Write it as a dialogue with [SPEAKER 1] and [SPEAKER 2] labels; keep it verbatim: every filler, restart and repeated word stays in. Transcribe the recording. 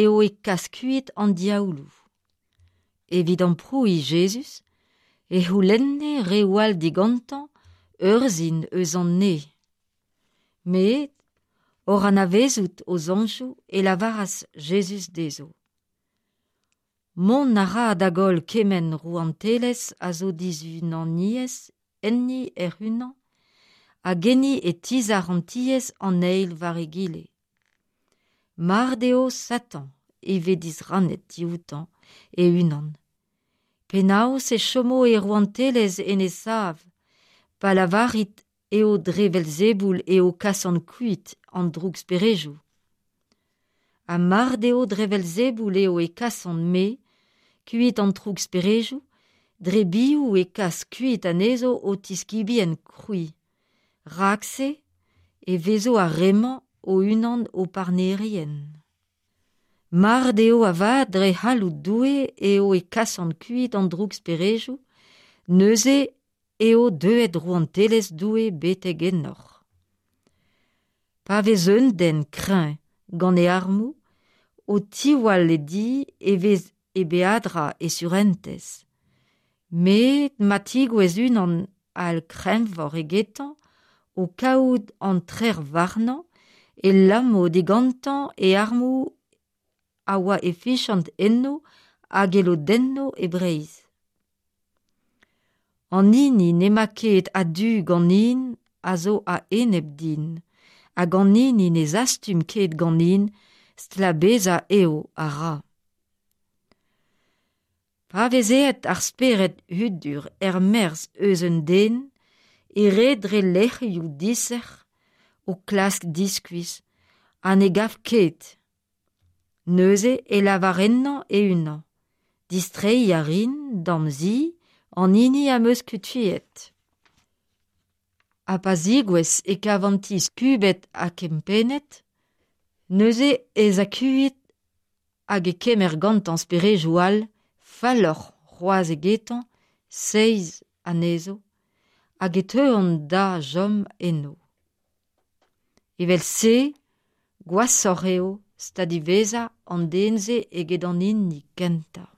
[SPEAKER 1] eo e kas kuit an diaouloù. Evit amprouiñ Jezuz e c'houlenne reoù all digantañ ur sin eus an neñv. Met oc'h anavezout o soñjoù e lavaras Jezuz dezho. Mont a ra da goll kement rouantelezh a zo dizunaniezh enni hec'h-unan hag enni e tizhar an tiez an eil war egile. Mar deo Satan e vez disrannet dioutañ e-unan. Penaos e chomo e rouantelezh en e sav, pa lavarit eo dre Velzeboul eo kasan kuit an drouksperejoù. Ha mar deo dre Velzeboul eo e kasan me kuit an drouksperejoù, dre biv e kas kuit anezho ho tiskibien c'hwi. Rak-se e vezo ar re-mañ o-unan ho parnerien. Mar deo avat dre c'halloud Doue eo e kasan kuit an drouksperejoù, neuze eo deuet rouantelezh Doue betek ennoc'h. Pa vez un den kreñv gant e armoù, o tiwall e di e vez e beadra e surentez. Met ma tegouezh unan all kreñvoc'h egetañ o kaout an trec'h warnañ e lamo digantañ e armoù a oa e fiziañs enno hag e lodenno e breizh. An hini n'emañ ket a-du ganin a zo a-enep din, hag an hini ne zastum ket ganin stlabezañ eo a ra. Pa vez aet ar spered hudur er-maez eus un den e red dre lec'hioù disec'h o klask diskuizh ha ne gav ket. Neuze e lavar ennañ e-unan. Distreiñ a rin da'm zi an hini am eus kuitaet. Ha pa zegouezh e kav an ti skubet ha kempennet, neuze ez a kuit hag e kemer gantañ speredoù all falloc'h c'hoazh egetañ, seizh anezho, hag e teuont da chom eno. Evel-se, gwashoc'h eo stad diwezhañ an den-se eget an hini kentañ.